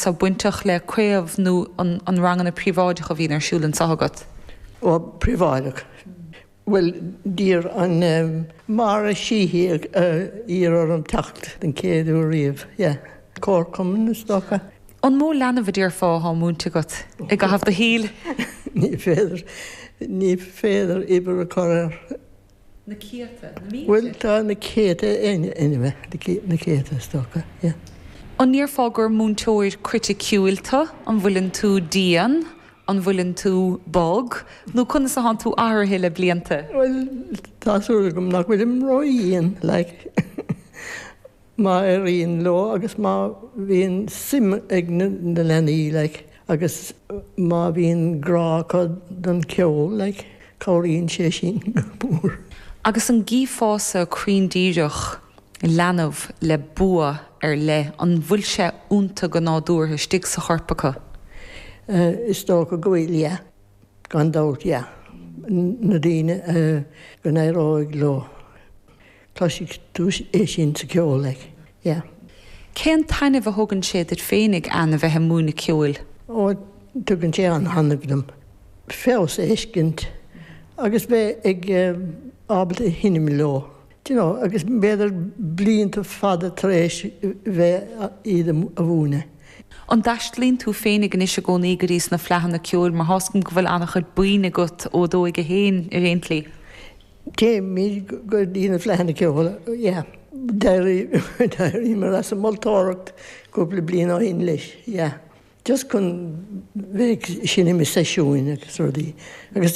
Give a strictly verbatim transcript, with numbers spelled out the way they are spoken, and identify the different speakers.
Speaker 1: atá bainteach le craobh nó an, an ranganna príobháideacha a bhíonn ar siúl anseo agat?
Speaker 2: Ó príobháideach. Well d'iarr an um, Máire Sheehy uh, iarr orm teacht den chéad uair riamh, yeah. Comharchumann is dócha.
Speaker 1: An mó leanbh a déarfá atá múinte agat i gcaitheamh do shaoil?
Speaker 2: Ní féidir ní féidir uimhir a chur air.
Speaker 1: Na céadta
Speaker 2: Well tá na céadta anyway, na céadta is dócha, yeah.
Speaker 1: An ndéarfá gur múinteoir criticiúil tú, an bhfuileann tú dian, an bhfuileann tú bog, nó conas atá tú athraithe le blianta?
Speaker 2: Well tá súil agam nach bhfuilim ródhian like. má éiríonn leo agus má bhíonn suim ag na leanaí like, agus má bhíonn grá acu don cheol like, cabhraíonn sé sin go mór.
Speaker 1: Agus an gcífeása cruinn díreach leanbh le bua ar leith an bhfuil sé iontu go nádúrtha istigh sa chorp acu.
Speaker 2: Uh, is dócha go bhfuil yeah. gan dabht yeah. na daoine uh, go n-éireoidh leo. Cloisfidh tú é sin sa ceol like. Yeah.
Speaker 1: Cén taitneamh a thugann sé duit féinig an a bheith ag múineadh ceoil?
Speaker 2: Ó tugann sé an-taitneamh dom. Feabhas a fheiscint agus bheith ag uh, ábalta seinm leo. You know, agus b'fhéidir blianta fada tar éis bheith iad a mhúineadh.
Speaker 1: An dtaistealaíonn tú féinig anois i gcónaí go dtí na fleadhanna ceoil mar tá 's agam go bhfuil an-chuid buíon agat ó dóigh a haon ar aon tslí.
Speaker 2: Téimid go dtí na fleadhanna ceoil, yeah. D'éiríomar as an moltóireacht cúpla bliain ó shin leis, yeah. Just chun bheith seinm i seisiúin agus rudaí. Agus